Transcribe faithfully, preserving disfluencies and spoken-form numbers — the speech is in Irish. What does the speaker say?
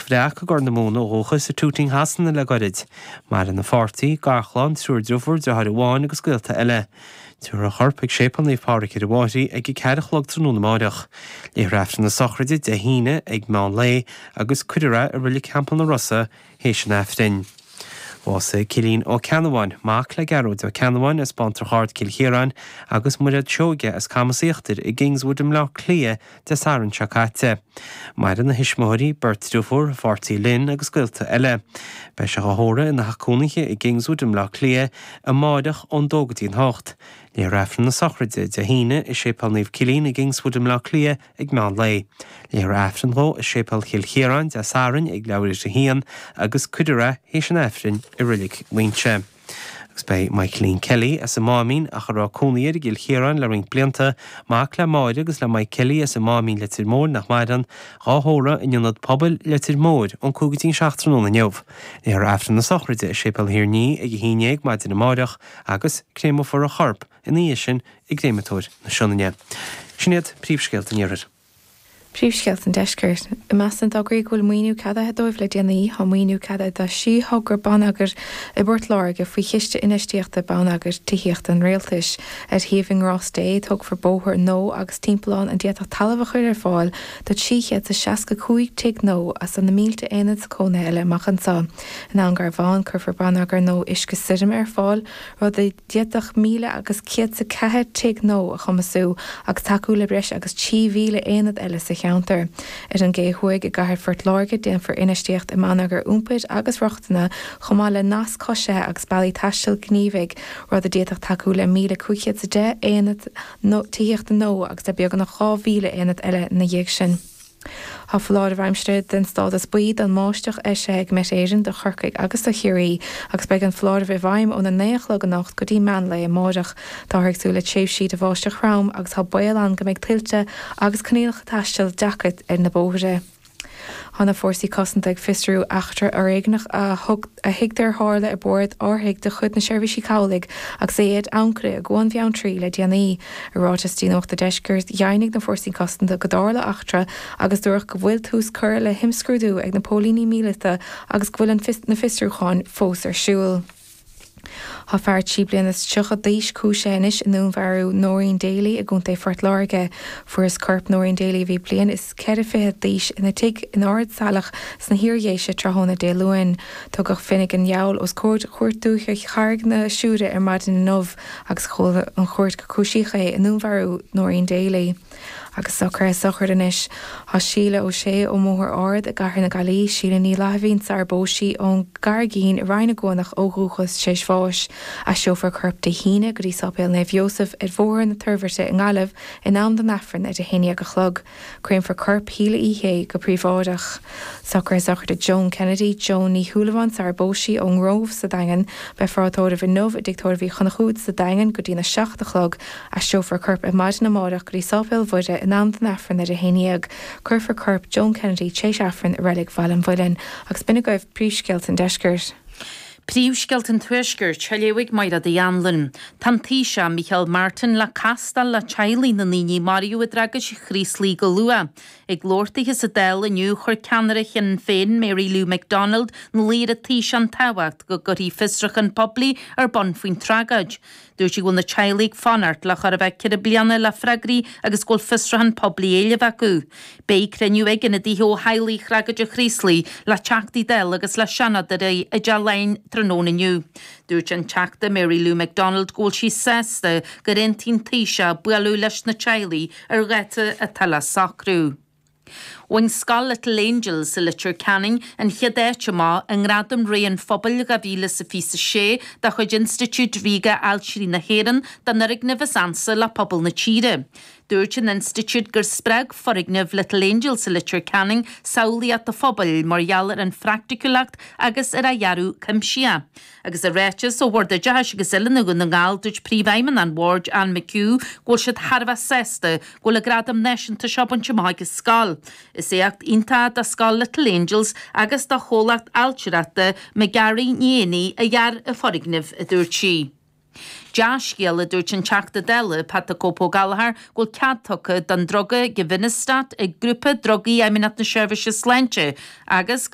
Bhreac i gCorr na Móna ó dhúchas i Tooting Shasana le gairid. Maireann a pháirtí, garchlann, triúr deirfiúr, deartháir amháin agus gaolta eile. Tabharfar a chorp ag Séipéal Naomh Pádraig ar an bhFairche ag a ceathair a chlog tráthnóna amáireach. Léifear Aifreann na sochraide Dé hAoine ag meán lae agus cuirfear é i Reilig Theampall na Rosa théis an Aifrinn. Bhásaigh Cillian Ó Ceannabháin, mac le Gearóid Ó Ceannabháin as Bantrach Ard Cill Chiaráin agus Muiréad Seoige as Camas Íochtair i gKingswood i mBleá Cliath Dé Sathairn seo caite. Maireann a thuismitheoirí, beirt deirfiúr, a pháirtí Lynn agus gaolta eile. Beidh sé á thórramh ina theach cónaithe i gKingswood i mBleá Cliath amáireach ón dó go dtí an hocht. Léifear Aifreann na sochraide Dé hAoine i Séipéal Naomh Cillian i gKingswood i mBleá Cliath ag meán lae. Léifear Aifreann dhó i Séipéal Chill Chiaráin Dé Sathairn ag leathuair tar éis a haon agus cuirfear é théis an Aifrinn i Reilig Mhuinseo. Agus beidh Michaeline Kelly as an Máimín ach a raibh cónaí air i gCill Chiaráin le roinnt blianta, mac le Máire agus le Mike Kelly as an Máimín Leitir Móir nach maireann, dhá thórramh in ionad pobail Leitir Móir ón cúig go dtí an seacht tráthnóna inniu. Léifear Aifreann na sochraide i Séipéal Thír an Fhia ag a haon déag maidin amáireach agus créamófar a chorp ina dhiaidh sin i gcréamatóir na Sionainne. Sin iad príomhscéalta an iarthair. Príomhscéalta an deiscirt. I measc na dtograí go bhfuil maoiniú ceadaithe dóibh le déanaí, tá maoiniú ceadaithe do thrí thogra bonneagair i bPort Láirge faoi chiste infheistíochta bonneagair tithíochta an rialtais. Ar shuíomh i nGrás Dé, tógfar bóthar nua agus timpeallán a d'fhéadfadh talamh a chur ar fáil do trí chéad is seasca cúig tigh nua agus na mílte aonad cónaithe eile amach anseo. In Abhainn Garbhán, cuirfear bonneagar nua uisce stoirme ar fáil, rud a d'fhéadfadh míle agus céad is a ceathair tigh nua a chumasú agus tacú le breis agus trí mhíle aonad eile sa cheantar. Ar an gCé Thuaidh i gcathair Phort Láirge déanfar infheistíocht i mbonneagar iompair agus rochtana chomh maith le nasc coisithe agus bealaí taistil gníomhaigh, rud a d'fhéadfadh tacú le míle cúig chéad is a deich aonad tithíochta nua agus le beagnach dhá mhíle aonad eile ina dhiaidh sin. Tá foláireamh aimsire den stádas buí don mbáisteach eisithe ag Met Éireann do Chorcaigh agus do Chiarraí agus beidh an foláireamh i bhfeidhm óna naoi a chlog anocht go dtí meán lae amáireach. Táthar ag súil le tréimhsí de bháisteach throm agus tá baol ann go mbeidh tuilte agus coinníollacha taistil deacair ar na bóithre. Tá na fórsaí cosanta ag fiosrú eachtra fhoréigneach a thug a thuigtear a tharla ar bord árthaigh de chuid na Seirbhísí Cabhlaigh agus é ar ancaire i gCuan Bheanntraí le déanaí. I ráiteas do Nuacht an Deiscirt, dheimhnigh na fórsaí cosanta go dtarla eachtra agus dúradh go bhfuil tús curtha le himscrúdú ag na póilíní míleata agus go bhfuil an na fiosrúcháin fós ar siúl. Tá fear trí bliana is tríocha d'aois cúisithe anois i ndúnmharú Noreen Daly i gContae Phort Láirge. Fuarthas corp Noreen Daly a bhí bliain is ceithre fiche d'aois ina tigh in Ard Saileach sna hIardhéise tráthnóna Dé Luain. Tugadh Finnegan Yowell os comhair Chúirt Dúiche Charraig na Siúire ar maidin inniu agus chuala an chúirt gur cúisíodh é i ndúnmharú Noreen Daly. Agus socruithe sochraide anois. Tá Síle Ó Sé ó mBóthar Ard i gCathair na Gaillimhe, Síle Ní Fhlaithimhín sar bpós sí ón gCarraigín i Rinn na gCuanach ó dhúchas tar éis bháis. Aistreofar a corp Dé hAoine go dtí Sáipéal Naomh Iósaf ar Bhóthar na Toirbhirte i nGaillimh in am don Aifreann ar a haon déag a chlog. Créamfar corp Shíle Uí Shé go príobháideach. Socruithe sochraide Joan Kennedy, Joan Ní Shúilleabháin sar bpós sí ón nGrove sa Daingean, beifear á tórramh inniu i dTigh Tórraimh Uí Chonchúir sa Daingean go dtína seacht a chlog. Aistreofar a corp ar maidin amárach go dtí Sáipéal Mhuire in am don Aifreann ar a haon déag. Cuirfear corp Joan Kennedy tar éis Aifrinn i Reilig Bhaile an Mhuilinn agus b'in agaibh príomhscéalta an deiscirt. Príomhscéalta an Tuaiscirt, á léamh ag Mairéad Uí Anluain. Tá an Taoiseach Micheál Martin le castáil le teaghlaigh na ndaoine a maraíodh i dtragóid Chraoslaigh go luath. Ag labhairt daoithe sa Dáil inniu, chuir ceannaire Shinn Féin, Mary Lou McDonald, ina luí ar an Taoiseach an tábhacht go gcuirfí fiosrúchán poiblí ar bun faoin tragóid. Dúirt sí go bhfuil na teaghlaigh ag fanacht le chóir a bheith ceithre bliana le freagraí agus go bhfuil fiosrúchán poiblí á éileamh acu. Beidh cruinniú ag ionadaithe ó theaghlaigh thragóid an Chraoslaigh le Teachtaí Dála agus le Seanadóirí i dTeach Laighean tráthnóna inniu. Dúirt an Teachta Mary Lou McDonald go bhfuil sí sásta gur aontaigh an Taoiseach bualadh leis na teaghlaigh ar dháta atá le socrú. Bhain Scoil Little Angels i Leitir Ceanainn an chéad áit amach i nGradam Ré an Phobail dhá mhíle is a fiche a sé de chuid Institiúid Ríoga Ailtirí na hÉireann don fhoirgneamh is ansa le pobal na tíre. Dúirt an institiúid gur spreag foirgneamh Little Angels i Leitir Ceanainn samhlaíocht an phobail mar gheall ar an phraiticiúlacht agus ar a dhearadh cuimsitheach. Agus i ráiteas ó Bhord Oideachais agus Oiliúna Dhún na nGall, dúirt Príomhfheidhmeannach an Bhoird, Anne McHugh, go bhfuil siad thar a bheith sásta go bhfuil an gradam náisiúnta seo bainte amach ag an scoil. Is éacht iontach do scoil Little Angels agus do chomhlacht ailtireachta McGarry Ní Éanaigh a dhear an foirgneamh, a dúirt sí. Dea-scéala, a dúirt an Teachta Dála, Pat 'The Cope' Ó Gallchóir, go bhfuil cead tugtha don druga Givinostat ag Grúpa Drugaí Fheidhmeannacht na Seirbhíse Sláinte agus go